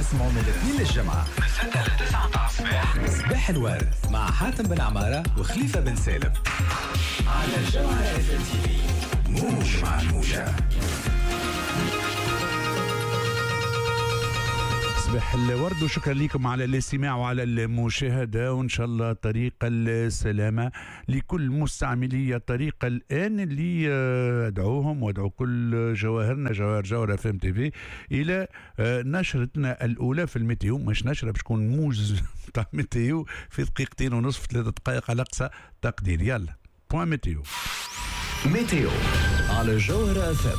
تسمعوا من الاثنين للجمعة من 6 ل 9 متاع الصباح، صباح الورد مع حاتم بن عمارة وخليفة بن سالم على الجوهرة اف تي في، موج مع الموجة. صباح الورد وشكرا لكم على الاستماع وعلى المشاهدة، وإن شاء الله طريق السلامة لكل مستعملي الطريق الآن اللي أدعوهم وأدعو كل جواهرنا جواهر جوهرة اف ام تي في إلى نشرتنا الأولى في ال météo. مش نشرة، باش تكون موجز تاع météo في دقيقتين ونصف 3 دقائق على أقصى تقدير. يلا point météo. météo على جوهرة اف ام.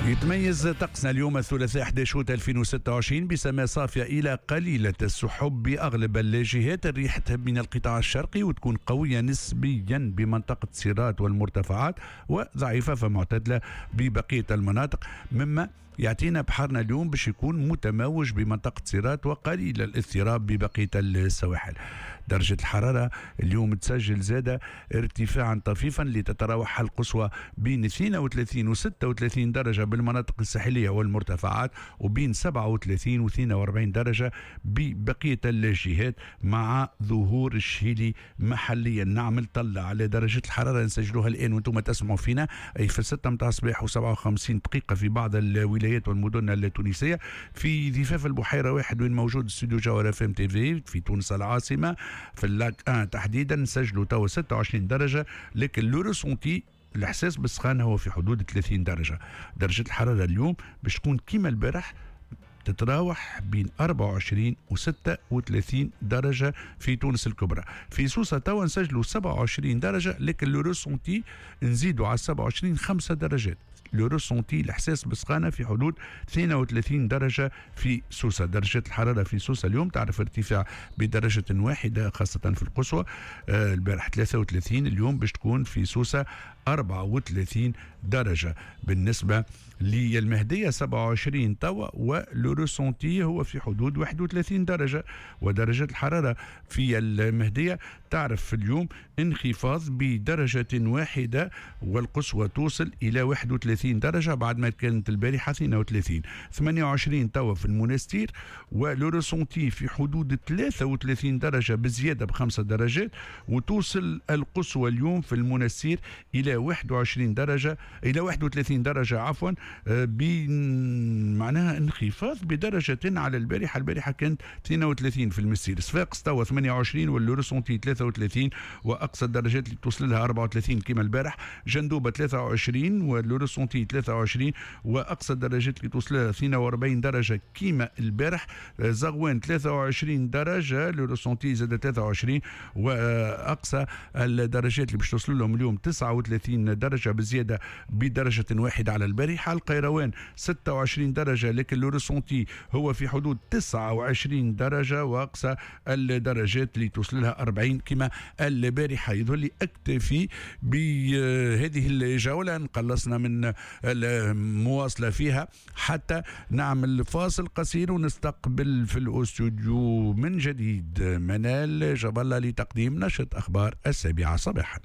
يتميز طقسنا اليوم الثلاثاء 11 اوت 2026 بسماء صافية إلى قليلة السحب بأغلب الجهات. الريح تهب من القطاع الشرقي وتكون قوية نسبيا بمنطقة سيرات والمرتفعات، وضعيفة فمعتدلة ببقية المناطق، مما يعطينا بحرنا اليوم باش يكون متموج بمنطقة سيرات وقليل الاضطراب ببقية السواحل. درجة الحرارة اليوم تسجل زادة ارتفاعا طفيفا لتتراوح القصوى بين 32 و 36 درجة بالمناطق الساحلية والمرتفعات، وبين 37 و 42 درجة ببقية الجهات، مع ظهور الشهيلي محليا. نعمل طلع على درجة الحرارة نسجلوها الآن وانتم تسمعوا فينا، أي في 6 متاع الصباح و57 دقيقة في بعض الولايات والمدن التونسية. في ضفاف البحيرة واحد وين موجود استوديو جوهرة اف ام تي في في تونس العاصمة في ال Lac 1 تحديدا نسجلوا توا 26 درجة، لكن le ressenti الإحساس بالسخانة هو في حدود 30 درجة. درجة الحرارة اليوم باش تكون كيما البارح تتراوح بين 24 و 36 درجة في تونس الكبرى. في سوسة توا نسجلوا 27 درجة، لكن le ressenti نزيدوا على 27 5 درجات. le ressenti الاحساس بالسخانه في حدود 32 درجه في سوسة. درجه الحرارة في سوسة اليوم تعرف ارتفاع بدرجة واحدة خاصة في القصوى، البارح 33، اليوم باش تكون في سوسة 34 درجه. بالنسبة للمهديه 27 توا و le ressenti هو في حدود 31 درجه. ودرجة الحرارة في المهدية تعرف اليوم انخفاض بدرجة واحدة والقصوى توصل الى 31 درجه بعد ما كانت البارحة 32. 28 توا في المنستير و le ressenti في حدود 33 درجه بزيادة ب5 درجات، وتوصل القصوى اليوم في المنستير الى 21 درجه، الى 31 درجه عفوا، معناها انخفاض بدرجة على البارحه. البارحة كانت 32 في المنستير. صفاقس توا 28 و le ressenti 33 واقصى الدرجات اللي توصل لها 34 كما البارح. جندوبه 23 و le ressenti 23 واقصى الدرجات اللي توصل لها 42 درجه كما البارح. زغوان 23 درجه، le ressenti زاد 23 واقصى الدرجات اللي باش توصل لهم اليوم 39 درجه بزيادة بدرجة واحدة على البارحه. القيروان 26 درجه، لكن le ressenti هو في حدود 29 درجه واقصى الدرجات اللي توصل لها 40 كما البارحه. يظهر لي اكتفي بهذه الجولة، نقلصنا من المواصلة فيها حتى نعمل فاصل قصير ونستقبل في الاستوديو من جديد منال جاب الله لتقديم نشرة اخبار 7 صباحا.